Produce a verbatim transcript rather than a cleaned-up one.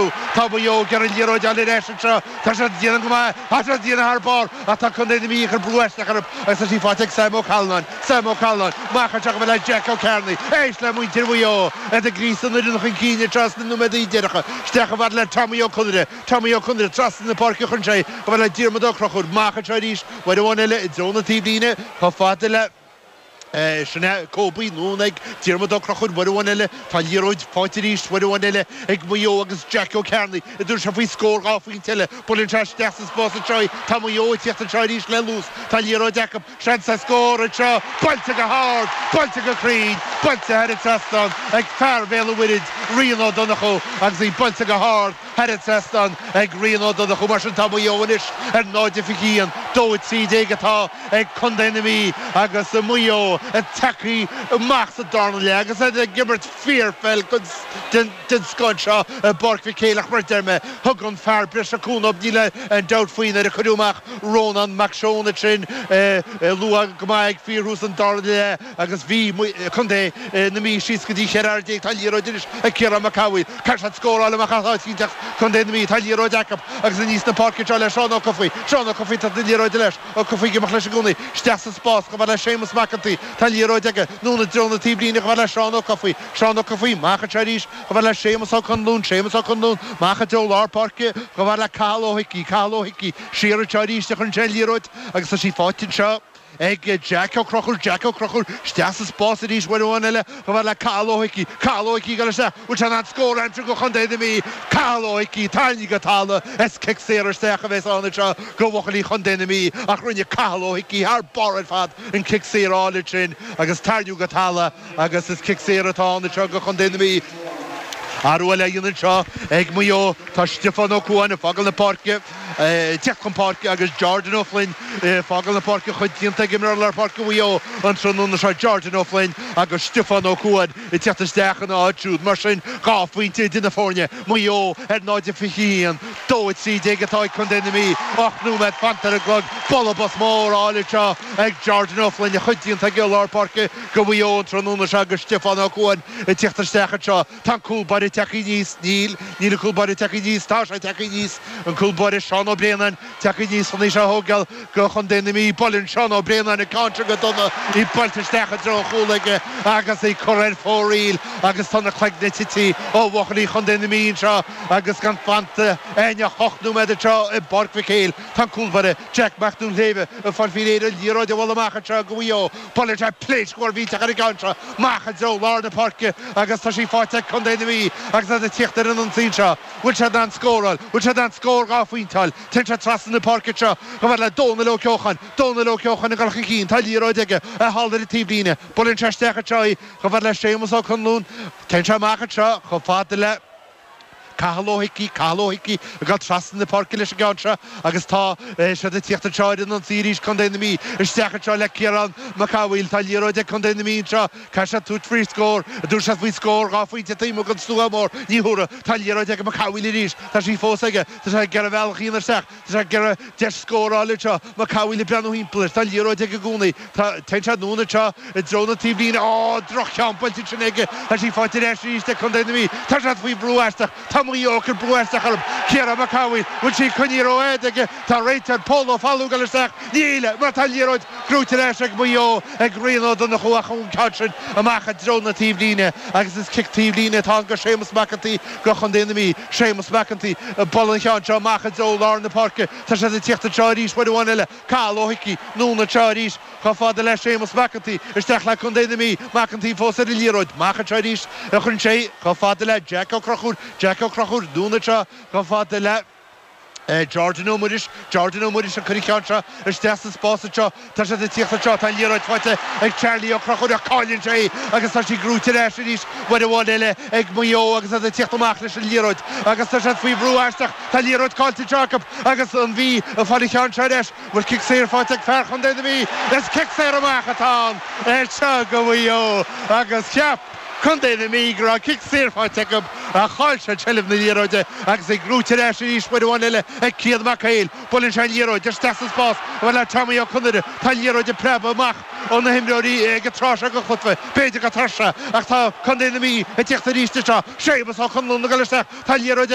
Murchú. Tá Maigh Eo ag iarraidh an liathróid a fháil ar ais anseo. Tá siad ag déanamh go maith. Tá siad ag déanamh thar barr ach tá Contae na Mí ag cur brú aisteach orthu agus tá sí faighte ag Sam Ó Callanáin. Sam Ó Callanáin, amach anseo chomh fada le Jack Ó Cearnaigh. Éist le muintir Mhaigh Eo iad ag gríosadh an fhoireann chun cinn anseo sna nóiméadaí deireanacha. Isteach chomh fada le Tommy Ó Conaire. Tommy Ó Conaire trasna na páirce chun sé chomh fada le Diarmuid Ó Conchúir. Amach anseo arís uair amháin eile i dtreo na taobhlíne chomh fada le Sin é Kobe anonn ag Diarmuid Ó Conchúir uair amháin eile. Tá an liathróid faighte arís uair amháin eile ag Maigh Eo agus Jack Ó Cearnaigh ag tabhairt sé faoi scór dhá phointe eile. Buaileann sé isteach sa spás anseo í. Tá Maigh Eo ag tíocht anseo arís le luas. Tá an liathróid acu. Seans ar scór anseo. Buailte go hard! Buailte go cruinn! Buailte thar an trasnán ag fear Bhéal an Mhuirthead, Rian Ó Donnchú agus í buailte go hard thar an trasnán ag Rian Ó Donnchú. Mar sin tá Maigh Eo anois ar náid a fiche haon, dó a trí déag atá ag Contae na Mí agus Maigh Eo ag tagtha amach sa darna leath agus iad ag imirt fíorpheil den scoth anseo i bPáirc Mhic Éil ach mar a deir mé, thug an fear breise cúnamh, níl aon dabht faoi nuair a cuireadh amach Rónán Mac Seoin ansin luath go maith ag fíorthús an dara leath agus bhí Contae na Mí síos go dtí cheithre fhear déag. Tá an liathróid anois ag Ciarán Mac Cathmhaoil. Caithfidh siad scóráil amach as áit éicint Contae na Mí. Tá an liathróid acu agus aníos na páirce anseo le Seán Ó Cofaigh. Seán Ó Cofaigh tá an liathróid leis. Ó Cofaigh ag imeacht leis i gcónaí. Isteach sa spás chomh fada le Séamus Mac an tSaoi. Tá an liathróid aige. Anonn i dtreo na taobhlíne chomh fada le Seán Ó Cofaigh. Seán Ó Cofaigh amach anseo arís chomh fada le Séamus Ó Conluain. Séamus Ó Conluain amach i dtreo lár páirce chomh fada le Cathal Ó hIcí. Cathal Ó hIcí siar anseo arís a chuireann sé an liathróid agus tá sí faighte anseo ag Jack Ó Conchúir, Jack Ó Conchúir isteach sa spás arís uair amháin eile chomh fada le Cathal Ó hIcí, Cathal Ó hIcí ag dul isteach, bhfuil sé in ann scór a aimsiú do Chontae na Mí, Cathal Ó hIcí tarraingthe go talamh, is cic saor isteach a bheas ann anseo do bhuachaillí Chontae na Mí ach rinne Cathal Ó hIcí thar barr ar fad an cic saor álainn sin agus tarraingíodh go talamh agus is cic saor atá ann anseo do Chontae na Mí. Athrú eile á dhéanamh anseo ag Maigh Eo. Tá Stiofán Ó Cuain ag fágáil na páirce, ag teacht chun páirce agus Jordan Ó Floinn ag fágáil na páirce. A chuid déanta ag imreoir lár páirce Mhaigh Eo an tráthnóna seo, Jordan Ó Floinn agus Stiofán Ó Cuain ag teacht isteach ina áit siúd. Mar sin, dhá phointe idir na foirne, Maigh Eo ar náid a fiche a haon, dó a trí déag atá ag Contae na Mí. Ocht nóiméad fanta ar an gclog. Bualadh bos mór álainn anseo ag Jordan Ó Floinn, a chuid déanta ag lár páirce do Mhaigh Eo an tráthnóna seo agus Stiofán Ó Cuain ag teacht isteach anseo. Tá an cúl báire tagtha aníos. Níl. Níl an cúl báire tagtha aníos. Tá sé tagtha aníos. An cúl báire Seán Ó Braonáin tagtha aníos chun í seo a thógáil do Chontae na Mí. Buaileann Seán Ó Braonáin an ceann seo go dona. Í buailte isteach i dtreo an chúil aige agus í curtha ar fóraoil agus tá na cloigne tite ó bhuachaillí Chontae na Mí anseo agus gan fanta ach ocht nóiméad anseo i bPáirc Mhic Éil. Tá an cúl báire Jack Mac Duinnshléibhe ag fáil faoi réir an liathróid a bhualadh amach anseo do Mhaigh Eo. Buaileann sé pléasc mhór mhillteach ar an gceann seo. Amach i dtreo lár na páirce agus tá sí faighte ag Contae na Mí agus iad ag tíocht ar an ionsaí anseo. Bhfuil siad in ann scóráil? Bhfuil siad in ann scór dhá phointe a fháil? Téann sé trasna na páirce anseo chomh fada le Dónal Ó Ceocháin. Dónal Ó Ceocháin ag dul chun cinn. Tá liathróid aige thall ar an taobhlíne. Buaileann sé isteach anseo í chomh fada le Séamus Ó Conluain. Téann sé amach anseo chomh fada le. Cathal Ó hIcí, Cathal Ó hIcí ag dul trasna na páirce leis an gceann seo agus tá siad ag tíocht anseo ar an ionsaí arís, Contae na Mí isteach anseo le Ciarán Mac Cathmhaoil. Tá liathróid ag Contae na Mí anseo. Caithfidh siad tabhairt faoi scór. Dúirt siad faoi scór dhá phointe taobh amuigh den slua mór. Ní thabharfaidh. Tá liathróid ag Mac Cathmhaoil arís. Tá sí fós aige. Tá sé ag iarraidh a bhealach a dhéanamh isteach. Tá sé ag iarraidh deis scóráil anseo. Mac Cathmhaoil ag breathnú thimpeall air. Tá liathróid aige i gcónaí. Tá, téann sé anonn anseo i dtreo na taobhlíne. Á, droch-cheann buailte ansin aige. Tá sí faighte ar ais arís ag Contae na Mí. Tá siad faoi bhrú aisteach. Tá Maigh Eo ag cur brú aisteach orthu. Ciarán Mac Cathmhaoil, bhfuil sí coinnithe rófhada aige? Tá réiteoir Pól Ó Foghlú ag dul isteach. Níl, mar tá an liathróid gnóite ar ais ag Maigh Eo ag Rian Ó Donnchú ach an ceann sin amach i dtreo na taobhlíne agus is cic taobhlíne atá ann do Séamus Mac an tSaoi do Chontae na Mí. Séamus Mac an tSaoi ag bualadh an cheann seo amach i dtreo lár na páirce. Tá siad ag tíocht anseo arís uair amháin eile. Cathal Ó hIcí, anonn anseo arís chomh fada le Séamus Mac an tSaoi, isteach le Contae na Mí. Mac an tSaoi fós ar an liathróid. Amach anseo arís a chuireann sé chomh fada le Jack Ó Conchúir. Jack Ó Conchúir, anonn anseo chomh fada le Jordan Ó Muiris. Jordan Ó Muiris ag cur an cheann seo isteach sa spás anseo. Tá siad ag tíocht anseo. Tá an liathróid faighte ag Charlie Ó Conchúir ach cailleann sé í agus tá sí gnóite ar ais arís uair amháin eile ag Maigh Eo agus iad ag tíocht amach leis an liathróid agus tá siad faoi bhrú aisteach. Tá an liathróid caillte anseo acu agus an Mhí ag fáil an cheann seo ar ais. Bhfuil cic saor faighte ag fear Chontae na Mí? Is cic saor amach atá ann anseo do Mhaigh Eo agus cheap Contae na Mí go raibh cic saor faighte acu ach chaill siad seilbh na liathróide agus í gnóite ar ais arís uair amháin eile ag Cian Mac Héil. Buaileann sé an liathróid isteach sa spás chomh fada le Tommy Ó Conaire. Tá an liathróid ag preabadh amach ó na himreoirí ag an tráth seo den chluiche. B'fhéidir gur tuirse ach tá Contae na Mí ag tíocht arís anseo. Séamus Ó Conluain ag dul isteach. Tá an liathróid ag.